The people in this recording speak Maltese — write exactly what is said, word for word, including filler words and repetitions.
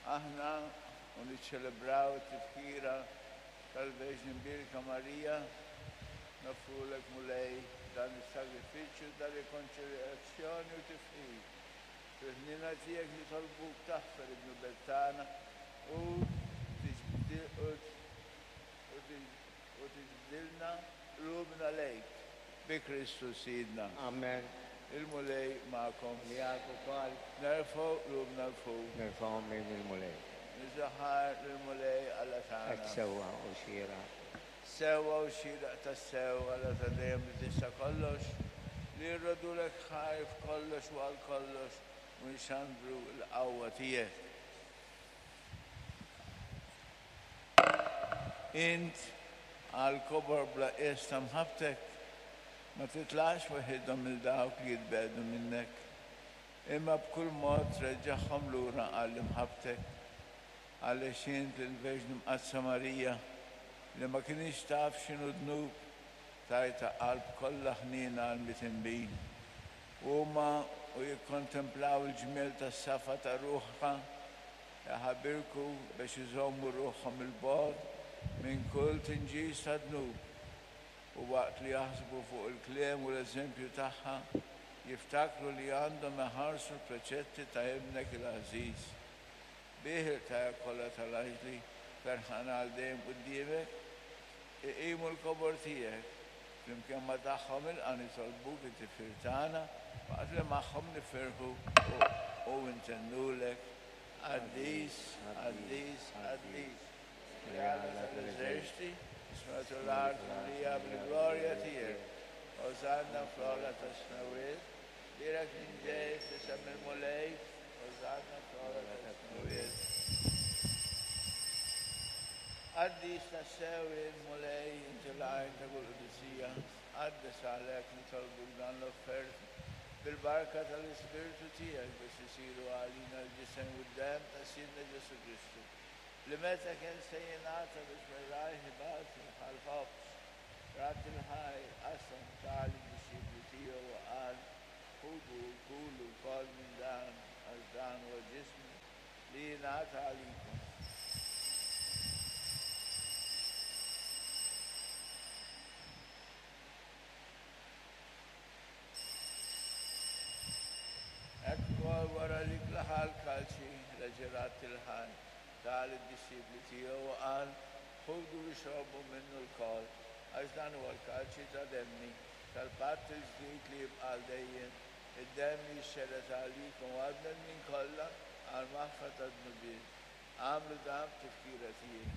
Aħna u niċċelebraw it-tifkira tal-Verġni Mbierka Marija, noffrulek, Mulej, dan is-sagrifiċċju ta' rikonċiljazzjoni u tifħir. Fil-ħniena tiegħek nitolbuk taħfer id-dnubiet tagħna u tiġbdilna qlubna lejk bi Kristu Sidna. Amen. Il-Mulej magħkom. Miegħek ukoll. Nerfgħu qlubna 'l fuq. Nerfgħuhom lejn il-Mulej. Niżżu ħajr lill-Mulej Alla tagħna. Hekk sewwa u xieraq. Sewwa u xieraq tassew, Alla ta' dejjem li tista' kollox, li rroddulek ħajr f'kollox u għal kollox u nxandru l-qawwa tiegħek. Int għall-kobor bla qies ta' mħabbtek ma titlaqx weħidhom lil dawk li jitbiegħdu minnek, imma b'kull mod treġġagħhom lura għal imħabbtek. Għaliex int lill-Verġni Mqaddsa Marija, li ma kinitx taf x'inhu dnub, tajtha qalb kollha ħniena għall-mitinbin. Huma u jikkontemplaw il-ġmiel tas-safa ta' ruħha, iħabirku biex iżommu ruħhom 'il bogħod minn kull tinġis ta' dnub, u waqt li jaħsbu fuq il-kliem u l-eżempju tagħha, jiftakru li għandhom iħarsu l-preċetti ta' Ibnek il-għażiż. Bih il-qtajja kollha tal-anġli ferħana għal dejjem quddiemek, iqimu l-kobor tiegħek. Flimkien ma' tagħhom ilqa' nitolbuk it-tifħir tagħna, waqt li magħhom nifirħu u ntennulek, Qaddis, qaddis, qaddis, Alla tal-eżerċti, is-smewwiet u l-art mimlija bil-glorja tiegħek. Osanna fl-ogħla tas-smewwiet, bierek min ġej f'isem il-Mulej, Osanna fl-ogħla tas-smewwiet. Qaddis tassew int, Mulej, inti l-għajn ta' kull qdusija, qaddis għalhekk nitolbuk dan l-offerti bil-barka tal-Ispirtu tiegħek biex isiru għalina l-ġisem u d-demm ta' Sidna Ġesù Kristu, li meta kien se jingħata biex mir-rajh ibati ħa l-ħobż, radd il-ħajr, qasam, ta lid-dixxipli tiegħu u qal, Ħudu u kulu lkoll minn dan, għax dan huwa ġismi li jingħata għalikom. Hekk ukoll wara li klaħa l-kalċi, reġa' radd il-ħajr, ta lid-dixxipli tiegħu u qal, Ħudu u ixorbu minnu lkoll, għax dan huwa l-kalċi ta' demmi, tal-patt il-ġdid li jibqa' għal dejjem, id-demm li jixxerred għalikom u għall-bnedmin kollha għall-maħfra tad-dnubiet. Agħmlu dan b'tifkira tiegħi.